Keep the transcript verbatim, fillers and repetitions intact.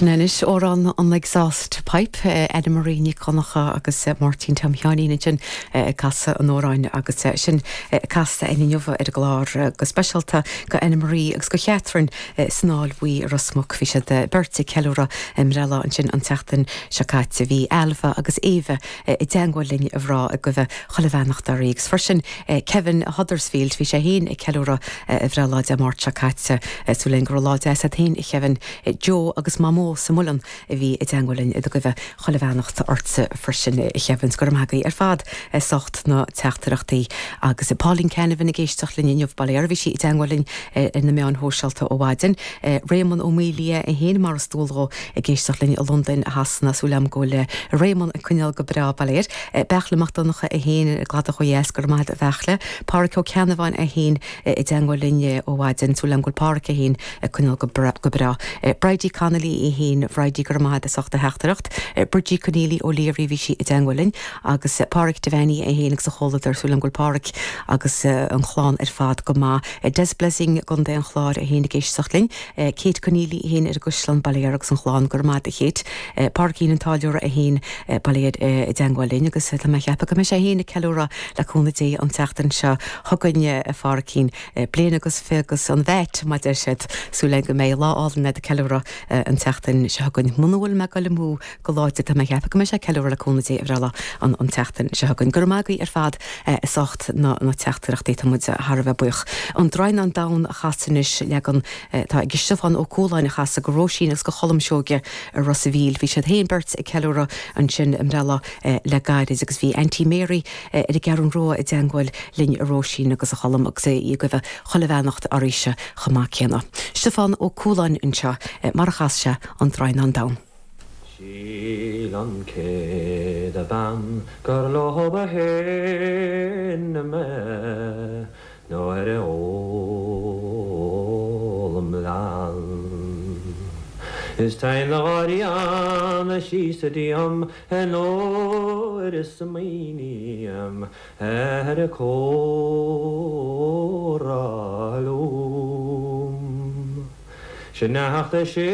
Sin anois amhrán an Exhaust Pipe Anna Marie Nic Dhonncha agus Máirtín Tom Sheáinín sin casadh an amhráin agus sin casta inniu ar an gclár go speisialta go Anna Marie agus go Catherine san Fheá Bhuí Ros Muc bhí siad beirt ag ceiliúradh a mbreithlá ansin an tseachtain seo caite bhí Alva agus Éabha i dteagmháil linn a rá ag gabháil chuile bheannacht oraibh agus freisin Kevin Huddersfield bhí sé féin ag ceiliúradh a bhreithlá Dé Máirt seo caite súil go raibh lá deas agat féin Kevin Joe agus Mamó sa Muileann a bhí i dteagmháil linn ag gabháil chuile bheannacht ortsa freisin Kevin go raibh maith agaibh ar fad as ucht na teachtaireachtaí agus Pauline Canavan ag éisteacht linn inniu bail ó Dhia uirthi bhí sí i dteagmháil linn ar na meáin shóisialta ó mhaidin. Réamonn Ó Maolaodha é féin mar is dual dó ag éisteacht linn i Londain Shasana súil agam go bhfuil Réamonn ag coinneáil go breá bail ó Dhia air. Beachla Mac Donncha é féin i gCladach ó dheas go raibh maith agat a Bheachla. Pádraig Ó Ceannabháin é féin i dteagmháil linn ó mhaidin súil agam go bhfuil Pádraig é féin ag coinneáil go breá. Bridie Connolly é féin Bridie go raibh maith agat as ucht do theachtaireacht. Bridgie Conneely O'Leary bhí sí i dteagmháil linn agus Pádraig Devaney é féin agus a chomhluadar súil agam go bhfuil Pádraig agus an chlann ar fad go maith. Des Blessing i gContae an Chláir é féin ag éisteacht linn. Kate Conneely é féin ar an gCaisleán bail ó Dhia uirthi agus an chlann go raibh maith agat a Kate. Pádraigín an Táilliúra é féin bail ó Dhia i dteagmháil linn agus tá mé ag ceapadh go mbeidh sé féin ag ceiliúradh le cúnamh Dé an tseachtain seo chugainn a Phádraigín bliain agus fiche agus an bheit mar a deir siad súil go mbeidh lá álainn ag ceiliúradh an tseachtain seo chugainn. Muna bhfuil mé ag goil amú go láidir tá mé ag ceapadh go mbeidh sé ag ceiliúradh le cúnamh Dé a bhreithlá an an tseachtain seo chugainn. Go raibh maith agaibh ar fad as ucht na na teachtaireachtaí tá muid thar a bheith buíoch. An Draighneán Donn a chasadh anois leagan tá ag Stiofán Ó Cualáin a chasadh go Róisín agus go Cholm Seoige i Ros an Mhíl. Bhí siad féin beirt ag ceiliúradh ansin a mbreithlá le gairid agus bhí Auntie Mary ar an gCeathrú Rua i dteagmháil linn a Róisín agus a Cholm agus é ag gabháil chuile bheannacht oraibhse chomh maith céanna. Stiofán Ó Cualáin anseo mar a chas sé an Draighneán Donn. Shíl an chéad bhean gur leo ba shine mé nuair a ól im leann. Is tain na gáiríana síos a díom nuair is smaoiním ar a córa lom. Sin neachta sé